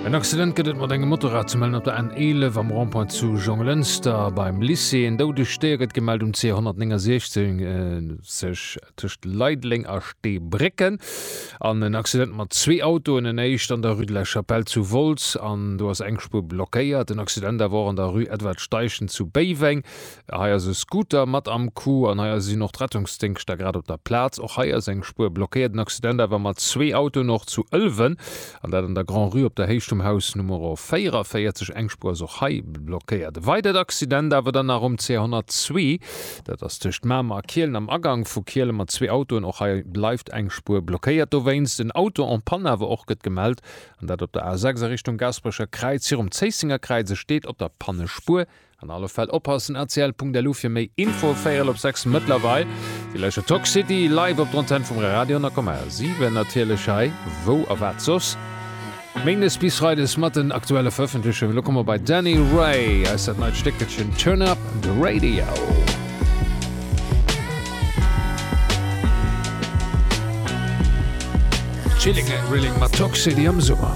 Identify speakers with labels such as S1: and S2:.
S1: En Accident gëtt et mat engem Motorrad ze mellen op der N11 am Rond-point zu Jonglënster beim Lycée. En doudegt Déier gëtt gemellt um C 169 tëscht Leideleng a Steebrécken. An en Accident mat zwee Autoen, en éischt an der Rue de la Chapelle zu Wolz an do ass eng Spuer blockéiert. En Accident awer och an der Rue Edward Steichen zu Béiweng. Hei ass e Scooter mat am Coup an hei sinn och d'Rettungsdéngschter grad op der Plaz. Och hei ass eng Spuer blockéiert. En Accident awer mat zwee Autoen och zu Ëlwen an dat an der Grand-Rue op der Héicht vum Haus Numero 44. Eng Spuer ass och hei blockéiert. E weidert Accident awer dann nach um CR 102, dat ass tëscht Mamer a Kielen am Agank vu Kielen mat zwee Autoen. Och hei bleift eng Spuer blockéiert dowéinst. En Auto en panne awer och gëtt gemellt an dat op der A6 a Richtung Gaasperecher Kräiz virum Zéissenger Kräiz. E steet op der Pannespuer. An alle Fäll oppassen, rtl.lu fir méi Info. Véierel op 6 mëttlerweil. Dir lauschtert Talk City live op der Antenn vum Radio 10,7. Natierlech hei, wou a wat soss? Méindes bis Freides mat den aktuelle Verëffentlechungen. Elo komme mer bei Danny Ray, eis dat neit Stéckelchen Turn Up The Radio. Chilling and Grilling mat Talk City am Summer.